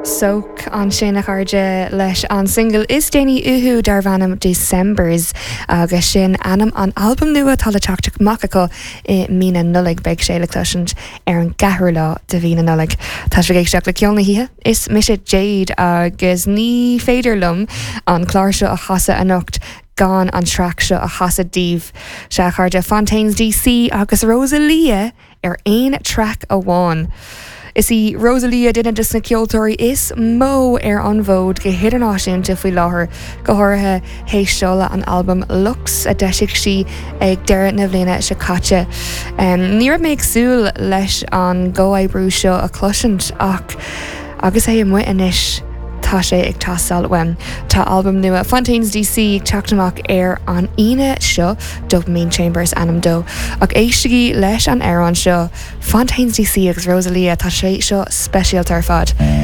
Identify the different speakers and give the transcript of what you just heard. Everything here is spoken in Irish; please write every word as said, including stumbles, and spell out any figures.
Speaker 1: Soak ansin a chairde leis an single is déanaí uathu darb ainm Decembers agus sin ainm an albam nua atá le teacht amach acu i mí na Nollag beidh sé le cloisint ar an gceathrú lá de mhí na Nollag. Tá sibh ag éisteacht le ceol na hoíche is mise Jade agus ní féidir liom an clár seo a chasadh anocht gan an traic seo a chasadh daoibh sea a chairde Fontaines DC agus Rosalia ar aon traic amháin. Is í Rosalia duine de na ceoltóirí is mó ar an bhfód go hidirnáisiúnta faoi láthair go háirithe théis seoladh an albam Lux a d'eisigh sí ag deireadh na bliana seo caite. Um, ní raibh mé ag súil leis an gcomhoibriú seo a chloisint ach agus é amuigh anois tá sé ag teastáil uaim. Tá albam nua Fontaines DC ag teacht amach ar an Aoine seo Dopamine Chambers ainm dó ach éistigí leis an amhrán seo Fontaines DC agus Rosalia tá sé seo speisialta ar fad.